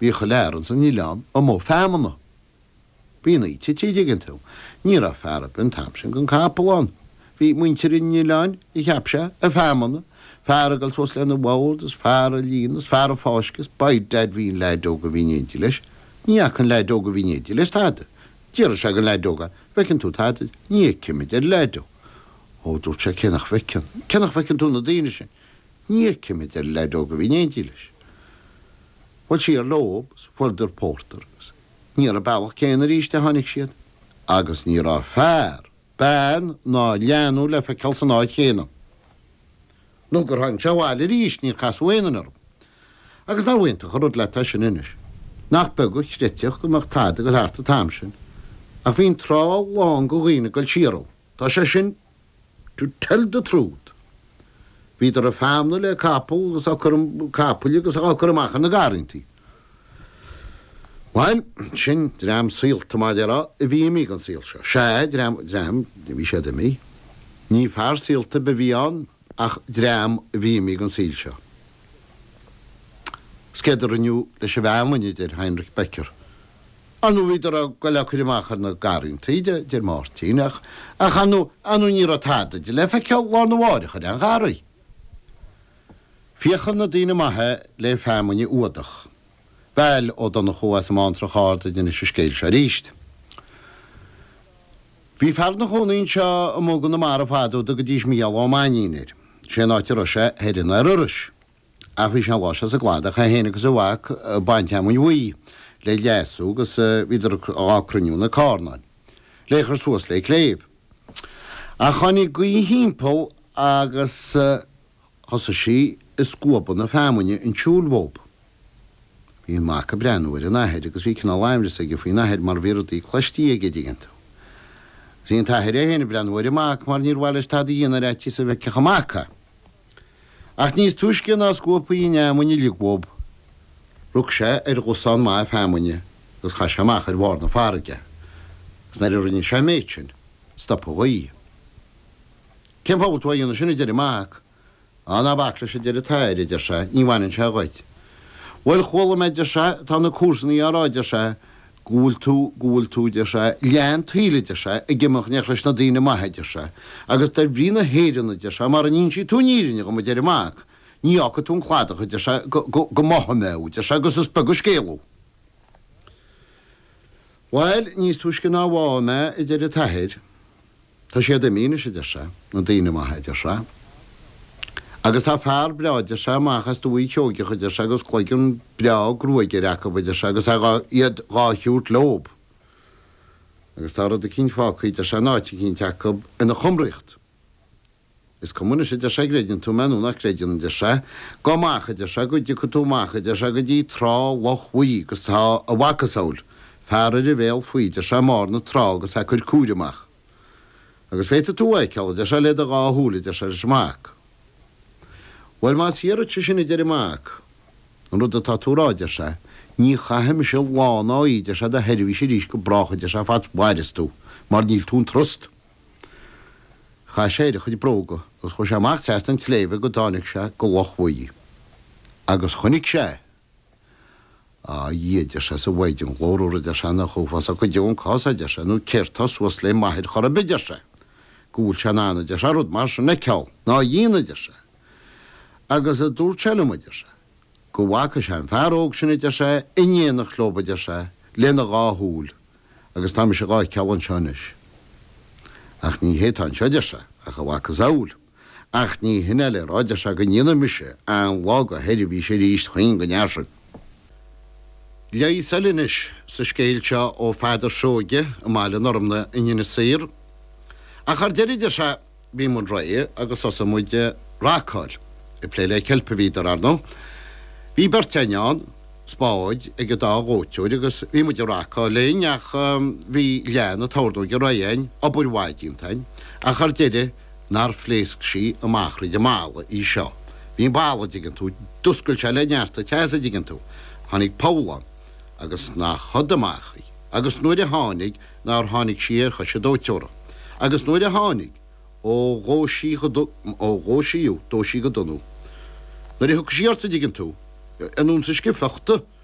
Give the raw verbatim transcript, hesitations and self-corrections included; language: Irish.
Bhí chuile fhear ins an oileán amuigh feamnach. Bhí an oíche te, dtuigeann tú. Ní raibh fear ar bith an t-am sin gan capall ann. Bhí muintir an oileáin, a cheap sé, ag feamnach, fear ag dul suas lena bhord is fear ag líonadh is fear ag fáisceadh is by dad bhí an leaid óg a bhí in éindí leis. Ní fhaca an leaid óg a bhí in éindí leis tada. D'fhiafraigh sé den leaid óg, bhfeiceann tú tada? Ní fheicim, a deir an leaid óg. Ó, dúirt sé, cé nach bhfeiceann? Cé nach bhfeiceann tú na daoine sin? Ní fheicim, a deir an leaid óg a bhí in éindí leis. Bhuel siar leo agus fuaireadar pórtar agus ní ar an bealach céanna arís a tháinig siad agus ní raibh fear, bean ná leanbh le feiceáil san áit chéanna. Nó gur tháinig sé abhaile arís níor casadh aon duine orthu. Agus nár iontach an rud leat é sin anois. Nach beag a chreidfeadh go mbeadh tada ag dul thart an t-am sin. Ach bhí an trá lán de dhaoine ag dul siar ann. Tá sé sin to tell the truth. Bhíodar ag feamnú le capall agus á cur capaill agus á cur amach ar na garrantaí. Bhuel, sin dream saolta mar a déarfá a bhí imithe den saol seo. Sea, dream dream bhí siad imithe. Ní fear saolta a bhí ann ach dream a bhí imithe den saol seo. 'S céard a rinneadh leis an bhfeamainn, a deir Heinrich Becker. Ar ndóigh bhíodar ag goil á cur amach ar na garrantaí, deir Máirtín, ach ach ar ndóigh ar ndóigh ní raibh tada de le feiceáil lá arna mháireach ar aon gharraí. Féachann na daoine maithe le feamainn a fhuadach. Bhail Ó Donnchú as an mBántrach Ard a d'inis an scéal seo arís. Bhí fear ina chónaí anseo amuigh i gConamara fadó a dtugaidís Mícheál Ó Mainnín air. Sé an áit a raibh sé thoir in Iorrais. Ach bhí sé an lá seo sa gcladach é féin agus a mhac ag baint fheamainn bhuí le leasú agus bhíodar á cruinniú na carnáin le cur suas le cléibh. Ach tháinig gaoth thimpeall agus thosaigh sí ag scuabadh na feamainne chun siúil dhóib. Bhí an mac ag breathnú ar an athair agus bhí cineál aimhreas aige faoin athair mar bhí rudaí cloistí aige dtuigeann tú. Bhí an t-athair é féin ag breathnú ar an mac mar níor mhaith leis tada a dhéanamh ar fhaitíos go bhfeicfeadh an mac é. Ach níos túisce ná scuabthaí an fheamainn uilig dhóib, rug sé ar dhosán maith feamainne agus chaith sé amach ar bharr na farraige, agus nuair a rinne sé an méid sin, stop an ghaoth. Cén fáth a bhfuil tú á dhéanamh sin, a deir an mac. Á, ná bac leis, a deir an t-athair, a deir sé, ní bhaineann sé dhuit. Bhuel, chuala mé, a deir sé, tá na comharsanaí á rá, a deir sé, go bhfuil tú, go bhfuil tú, a deir sé, leath an tsaoil, a deir sé, ag imeacht in éineacht leis na daoine maithe, a deir sé, agus de bhrí na hÉireann, a deir sé, mara n-inseoidh tú an fhírinne dhom, a deir an mac, ní fhágfaidh tú an cladach, a deir sé, go, go, go mbáfaidh mé thú, a deir sé, agus is beag an scéal thú. Bhuel, níos túisce ná báfadh mé, a deir an t-athair, Tá siad imithe anois, a deir sé, na daoine maithe, a deir sé. Agus tá fear breá, a deir sé, amach as Dumhaigh Sheoigeach, a deir sé, agus cloigeann breá gruaige air acu, a deir sé, agus é dhá, iad dhá thiúirt leob. Agus tá rud eicínt fágtha, a deir sé, in áit eicínt acu ina chumraíocht. Is cuma anois, a deir sé, an gcreideann tú mé nó nach gcreideann, a deir sé. Gabh amach, a deir sé, go dtiocfaidh tú amach, a deir sé, go dtí trá Loch Bhuí agus tá a mhacasamhail, fear ar a bhéal faoi, a deir sé, i mbarr na trá agus é ag cur cúire amach. Agus féadfaidh tú a fheiceáil, a deir sé, le do dhá shúil, a deir sé leis an mac. Bhuel, más fíor duitse sin, a deir an mac, an rud atá tú a rá, a deir sé, ní chaithfidh mise lá ná oíche, a deir sé, i do sheirbhís arís go brách, a deir sé, fad 's mhaireas tú, mar níl tú an trust. Chaith sé air a chuid bróga agus chuaigh sé amach trasna an tsléibhe go dtáinig sé go Loch Bhuí. Agus chonaic sé. Á, a Dhia, a deir sé, 's a Mhaighdean ghlórmhar, a deir sé, nach uafásach go deo an cás é, a deir sé, nó céard tá suas le m'athair chor ar bith, a deir sé, go bhfuil sé in ann, a deir sé, rud mar sin a fheiceáil, ná a dhéanamh, a deir sé. Agus a dúirt sé liom, a deir sé, go bhfaca sé an fear óg sin, a deir sé, in éineacht leob, a deir sé, lena dhá shúil, agus tá mise dhá fheiceáil anseo anois. Ach ní hé atá anseo, a deir sé, ach a mhacasamhail. Ach ní hin é le rá, a deir sé, go ndéanfaidh mise aon lá de sheirbhís arís d'aon den fhear sin. Leigheas eile anois sa scéal seo ó Pheadar Seoige i mBaile Normna in Inis Oírr. Ach ar deireadh, deir sé, bhí muid réidh agus thosaigh muid ag racáil. Ag plé le ceilp a bhíodar, ar ndóigh. Bhí beirt againn ann, spáid ag an dá dhóiteoir agus bhí muid ag racáil linn ach bhí leath na tornóige réidh againn, obair mhaith déanta againn, ach ar deireadh nár phléasc sí amach thríd an mballa í seo. Bhí an balla, dtuigeann tú, d'oscail sé le neart an teasa, dtuigeann tú. Tháinig poll ann agus nach shod amach í. Agus nuair a tháinig, nár tháinig sí ar chois an dóiteora. Agus nuair a tháinig, ó dhóigh sí go, ó dhóigh sí thú, dóigh sí go dona thú. Nuair a thiocfaidh sí ort, a dtuigeann tú, an uain sa scifeachta.